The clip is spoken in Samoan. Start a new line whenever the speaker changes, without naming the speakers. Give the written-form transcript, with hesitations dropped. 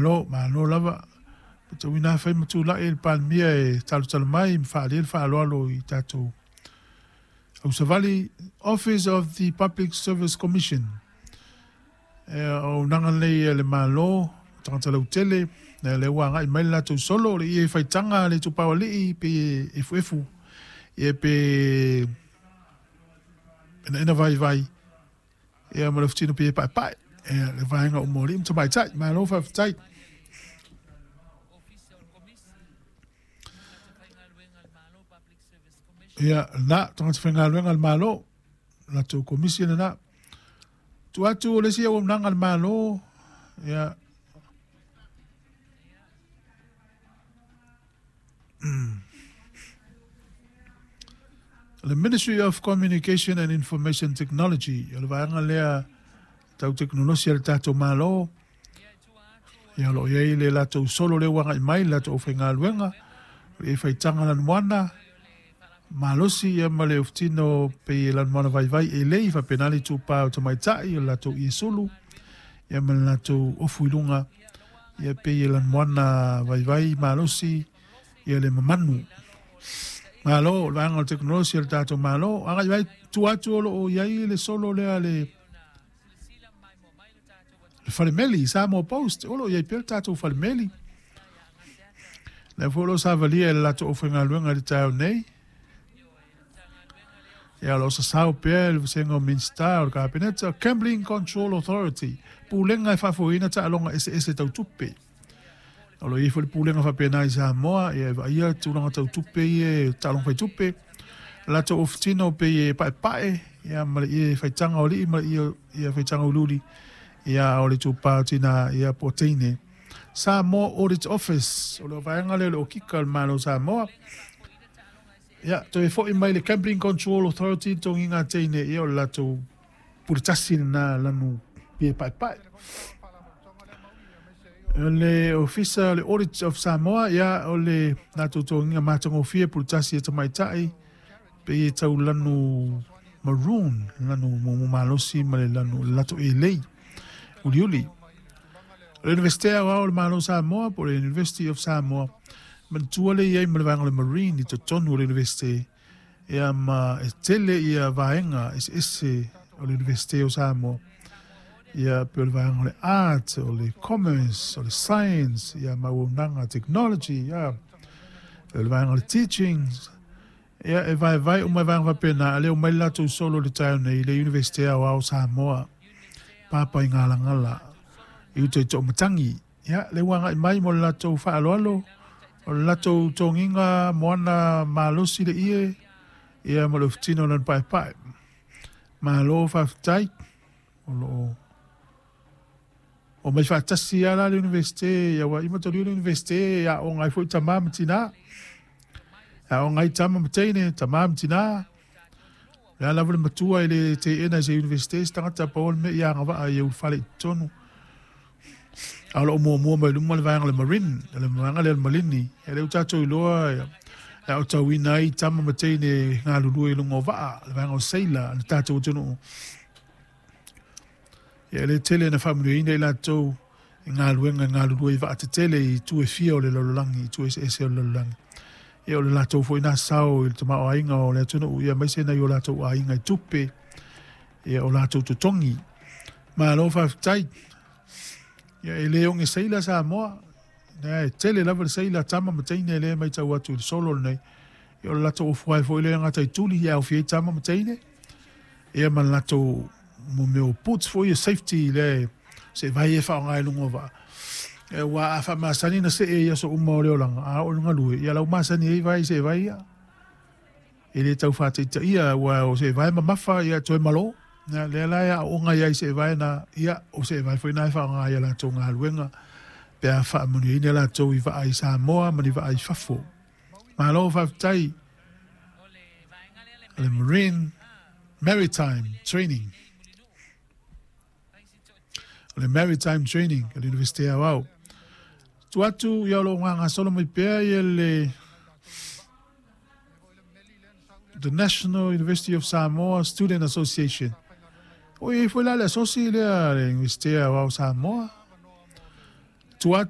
Malo, malo lava. Matauina afai ma tulai le Palemia e talotalo mai ma faaalia le faaaloalo i tatou ausavali. Office of the Public Service Commission. E auaunaga lenei a le Malo, tagata lautele, lea lea ua agai mai le latou solo, le ie faitaga le itupa o alii pe efuefu, ia pe enaena vaivai, ia ma le ofutino pe paepae, ia le vaega uma o alii ma tamaitai. Malo faafetai. Ia, na, tagata faigaluega a le Malo, latou komisi lena. Tuu atu o le isi auaunaga a le Malo, ia, le Ministry of Communication and Information Technology, o le vaega lea tau tekonolosi a le tatou Malo, ia o lo o i ai le latou solo lea ua agai mai, le latou aufaigaluega, o le faitaga lanumoana, malosi ia ma le ofutino pei e lanumoana vaivai e lei faapena le itupa o tamaitai o le latou iesulu ia ma le latou ofu i luga ia pei e lanumoana vaivai malosi ia le mamanu. Malo, o le vaega o le tekonolosi a le tatou Malo. Agai mai tua atu o lo o i ai le solo lea le falemeli, Samoa Post, o lo o i ai pea le tatou falemeli. Lea foi o lo o savalia e le latou aufaigaluega i le taeao nei. Ia, o lo o sasao pea le vasega o Minisita o le Kapeneta, Gambling Control Authority, pulega e faafoeina taaloga eseese tau tupe. O lo o i ai foi le pulega faapena i Samoa, ia e vaaia tulaga tau tupe ia, taaloga faitupe. Latou ofutino pei e paepae, ia ma le ie faitaga o alii ma le ie faitaga uliuli, ia o le itupa o tina, ia po o teine. Samoa Audit Office, o le vaega lea o le okika o le Malo o Samoa. Ia, toe foi mai le Gambling Control Authority, togiga teine, ia o le latou puletasi lena lanu pie paepae. O le Ofisa o le Audit of Samoa, ia o le latou togiga matagofie puletasi e tamaitai, pei e tau lanu maroon, lanu mumu malosi ma le lanu le latou elei uliuli. O le Universite Aoao o le Malo o Samoa po o le University of Samoa, manatua le i ai ma le vaega o le Marine i totonu o le Universite, ia ma e tele ia vaega eseese o le Universite o Samoa. Ia pei o le vaega o le Art, o le Commerce, o le Science, ia ma auaunaga Technology, ia o le vaega o le Teachings, ia e vaevae uma i vaega faapena, a lea omai le latou solo i le taeao nei i le Universite Aoao o Samoa, papa i Galagala i uta i Toomatangi. Ia, lea ua agai mai mo le latou faaaloalo, o le latou togiga moana malosi le ie, ia ma le ofutino o lana paepae. Malo faafetai. O lo o omai faatasi lava la le Universite, ia ua ima tolu le Universite e aoga ai foi tama ma tina. E aoga ai tama ma teine, tama ma tina. Le a lava le matua e le teena i se Universite se tagata pau o le mea ia agavaa ia ulufale i totonu. A o lo o muamua mai luma le vaega o le Marine, le vaega lea o le Malini. E le o tatou iloa e aotauina ai tama ma teine galulue i luga o vaa, le vaega o seila, le tatou atunuu. Ia e le tele na faamanuiaina i latou i galuega e galulue i vaa tetele i itu e fia o le lalolagi, i itu eseese o le lalolagi. Ia o le latou foi na sao i le tamaoaiga o le atunuu, ia aemaise nai o latou aiga i tupe, ia o latou totogi. Malo faafetai. Ia e le oge seila Samoa, e tele lava le seila tama ma teine lea e matau atu i le solo lenei. Ia o le latou ofu ai foi lea gata i tuli, ia aofia ai tama ma teine. Ia ma le latou mo mea o boots foi ia safety lea se vai e faaaoga i luga o vaa. E ua a faamasani na see i aso uma o le olaga, a oo i le galue, ia lau masani ai vai se vai ia. E le tau faataitaia, ua o se vai mamafa ia toe malo. Ia, lea la e aooga ai se vai na, ia o se vai foi na e faaaoga ia latou galuega pe a faamanuiaina latou i vaa i Samoa ma ni vaa i fafo. Malo faafetai. Le Marine Maritime Training. O le Maritime Training a le Universite Aoao. Tu atu ia o lo o gasolo mai pea ia le The National University of Samoa Student Association. O i ai foi la le asosi lea le Universite Aoao o Samoa. Tu atu